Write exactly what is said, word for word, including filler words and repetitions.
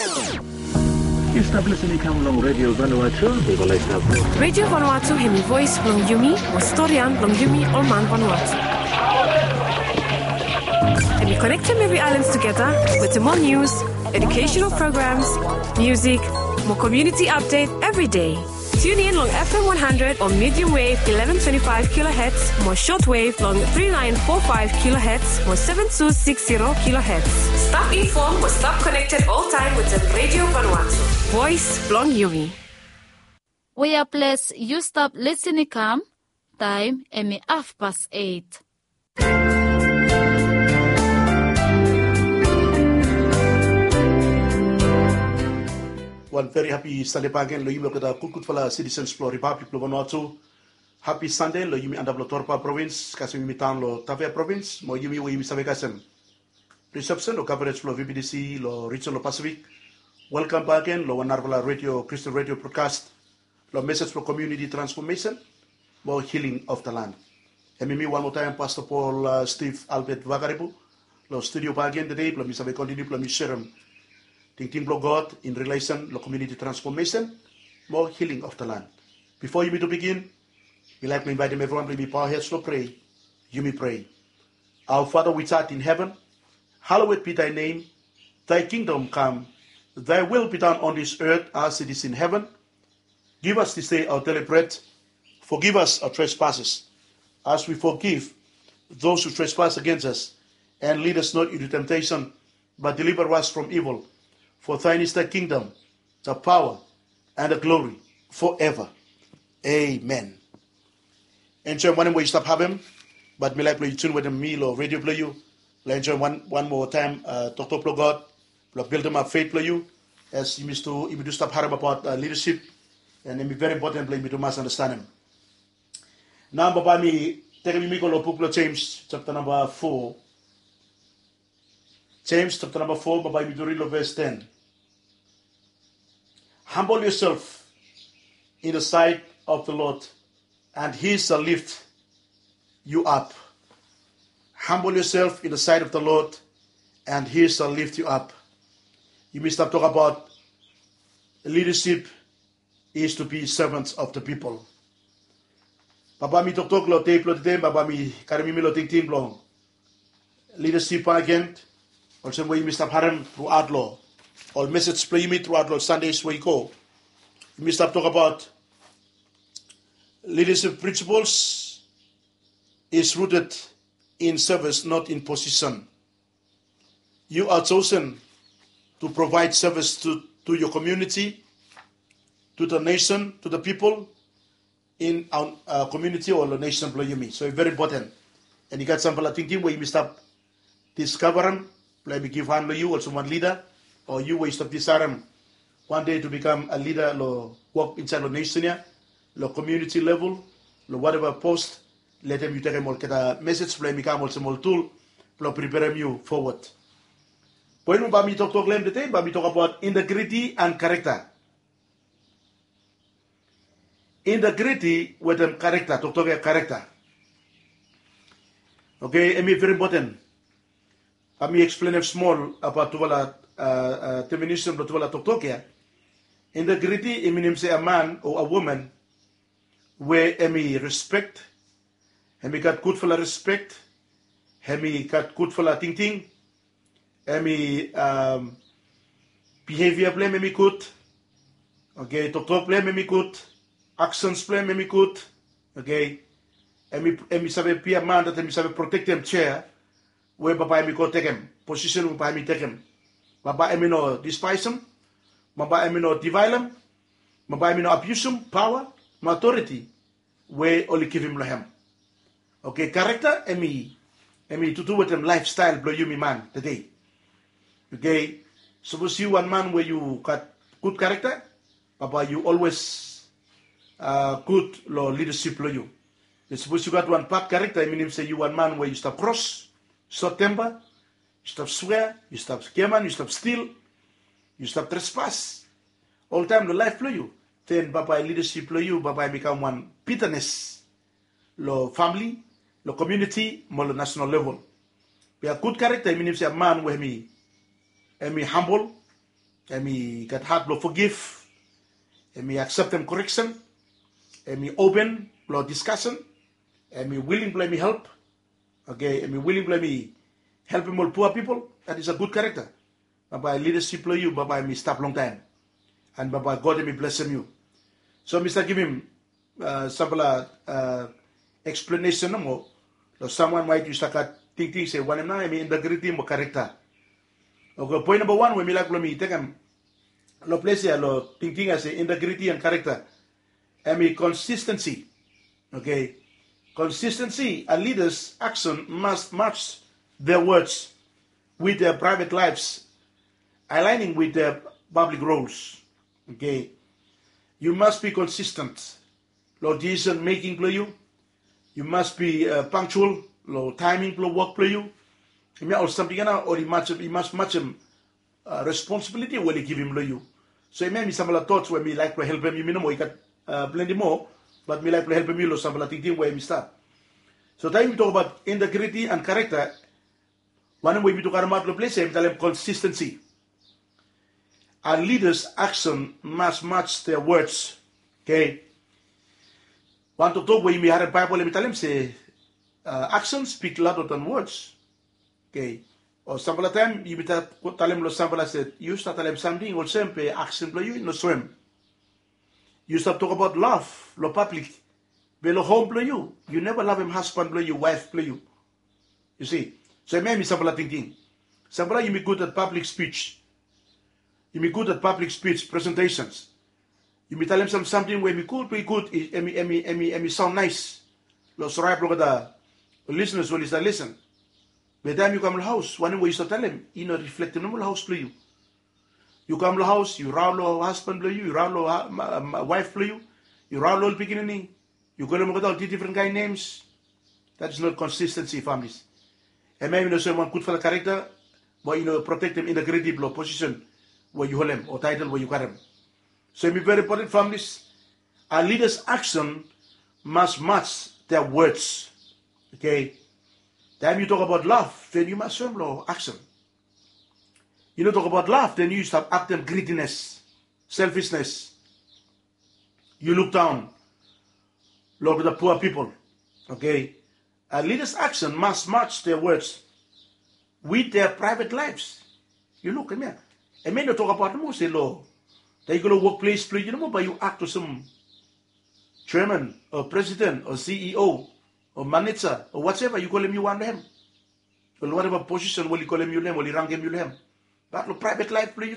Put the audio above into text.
Yu stap listening kam long Radio Vanuatu. Radio Vanuatu hemi voes blong yumi, mo storian blong yumi ol man Vanuatu. Hemi konektem evri aelan tugeta wetem ol nius, educational programs, musik, mo community update evri dei. Tune in long F M one hundred o medium wave eleven twenty-five kilohertz, mo shortwave long three nine four five kilohertz mo seven two six zero kilohertz. Stap informed mo stap connected all time with the Radio Vanuatu. Voice blong yumi. Wea ples yu stap listening kam, taem hemi hafpas eit. Wan veri hapi Sande bakegen long yumi olgeta gudgudfala sitisens blong Ripablik blong Vanuatu. Hapi Sande long yumi antap long Torba provins kasem yumi daon long Tafea provins mo yumi we yumi save kasem risepsen o kavarej blong V B T C long rijen blong Pasifik. Welkam bakegen long wan narafala redio, Kristin redio brodkas long mesej blong komuniti transfomesen mo hiling of the land. Hemi mi wan moa taem Pasta Pol Steve Albert Vakarebu long studio bakegen tede blong mi save kontiniu blong mi serem tingting blong God in relesen long komuniti transfomesen mo hiling of the land. Bifo yumi tu bigin, mi laek blong invaetem evriwan blong yumi paohed long prea. Yumi prea. Our Father which art in heaven, hallowed be thy name. Thy kingdom come. Thy will be done on this earth as it is in heaven. Give us this day our daily bread. Forgive us our trespasses, as we forgive those who trespass against us. And lead us not into temptation, but deliver us from evil. For thine is the kingdom, the power, and the glory forever. Amen. Enjoem wanem we yu stap havem, bat mi laek blong yu tune wetem mi long redio blong yu. Long enjoem wan moa taem toktok blong God blong bildimap fet blong yu. As yumi tu stap harem abaot lidasip, and hemi veri impoten blong yumi tu mas andastanem. Nao bambae mi tekem yumi go long buk blong Jems japta namba fo. Jems japta namba fo, bambae yumi tu rid long ves ten. Humble yourself in the sight of the Lord, and he shall lift you up. Humble yourself in the sight of the Lord, and he shall lift you up. Yumi stap tokbaot lidasip is to be servants of the people. Bambae mi toktok long dei blong tede, bambae mi karem yumi long tingting blong lidasip bakegen, olsem we yumi stap harem truaot long ol mesej blong yumi truaot long Sande we i go. Yumi stap tokbaot lidasip principles is rooted in service, not in position. You are chosen to provide service to, to your community, to the nation, to the people in our community o long nesen blong yumi. So i veri impoten. And i gat samfala tingting we yumi stap diskavarem blong hemi givhan long yu olsem wan lida, o yu we yu stap disaerem wan dei tu bikam a lida long wok insaed long nesen ya, long komuniti level, long wateva pos. Letem yu tekem olgeta mesej blong hemi kam olsem ol tul blong priperem yu fowod. Poen we bambae mi toktok long hem tede, bambae mi tokbaot integriti and karekta. Integriti wetem karekta, toktok ya karekta. Oke, hemi veri impoten. Bambae mi eksplenem smol abaot tufala definisen blong tufala toktok ya. Integriti i minim se a man o a woman we hemi respek, hemi gat gudfala respek, hemi gat gudfala tingting, hemi bihevia blong hem hemi gud. Oke, toktok blong hem hemi gud. Aksens blong hem hemi gud. Oke, hemi save bia man dat hemi save protektem jea we bambae hemi go tekem, posisen we bambae hemi tekem. Bambae hemi no dispaesem, bambae hemi no divaelem, bambae hemi no abiusum paoa mo aotoriti we oli givim long hem. Oke, karekta hemi tutu wetem laefstael blong yumi man tede. Oke, sapos yu wan man we yu gat gud karekta, bambae yu olwes gud long lidasip blong yu. Be sapos yu gat wan bad karekta, i minim se yu wan man we yu stap kros, sot tempa, yu stap swea, yu stap giaman, yu stap stil, yu stap trespas oltaem long laef blong yu, den bambae lidasip blong yu bambae hemi kam wan bitanes long famle, long komuniti mo long nasenal level. Be a gud karekta i minim se a man we hemi hambol, Em i gat hat blong forgiv. Em i akseptem koreksen. Em i open blong diskasen. Em i wiling blong em i help. Oke, em i wiling blong em i helpem ol pua pipol. That is a good character. Bambae lidasip blong yu bambae em i stap longtaem. And bambae God em i blesem yu. So mi stap givim sampela eksplenesen nomo long samwan we yu stap gat tingting se wanem nao em i integriti mo karekta. Oke, poen namba wan we mi laik blong mi tekem long ples ya long tingting ya se integriti and karekta, em i konsistensi. Oke, konsistensi. A lidas aksen mas mats their words with their private lives, aligning with their public roles. Oke, yu mas bi konsistent long decision making blong yu. Yu mas bi pangtual long taeming blong wok blong yu. Hemia ol samting ya nao ol i mas matsem responsibiliti we oli givim long yu. So hemia em i sampela tots we mi laik blong helpem yumi nomo, i gat plenti moa, bat mi laik blong helpem yu long sampela tingting we em i stap. So taem yumi tokbaot integriti and karekta, wanem we yumi tu karemaot long ples ya em i talem konsistensi. A lidas aksen mas mats their words. Oke, wan toktok we yumi harem Baebol em i talem se aksen spik lauda dan words. Oke, o sampela taem yumi talem long sampela se yu stap talem samting olsem be aksen blong yu i no soem. Yu stap tokbaot lav long pablik, be long hom blong yu yu neva lavem hasban blong yu, waef blong yu. Yu si? So hemia em i sampela tingting. Sampela yumi gud at pablik spij. Yumi gud at pablik spij presentesens. Yumi talem sam samting we em i gud, we i gud, em i saon naes long sore blong olgeta lisenas we oli stap lisen. Be taem yu kam long haos wanem we yu stap talem i no riflektem nomo long haos blong yu. Yu kam long haos, yu raon long hasban blong yu, yu raon long waef blong yu, yu raon long ol pikinini, yu kolem olgeta ol difren kaen nems. That is not konsistensi, familis. Hemia i no soem wan gudfala karekta, mo i no protektem integriti blong posisen we yu holem o taetel we yu karem. So em i veri impoten, familis. A lidas aksen mas mats their words. Oke, taem yu tokbaot lav den yu mas soem long aksen. Yu no tokbaot lav den yu stap aktem gridines, selfisnes. Yu lukdaon long olgeta pua pipol. Oke, a lidas aksen mas mats their words with their private lives. Yu luk hemia, hemia i no tokbaot nomo se long taem yu go long wokples blong yu nomo bae yu ak olsem jeaman o presiden o CEO o maneja o wateva yu kolem yu wan long hem, o long wateva posisen we oli kolem yu long hem, oli rangem yu long hem. Bat long praevet laef blong yu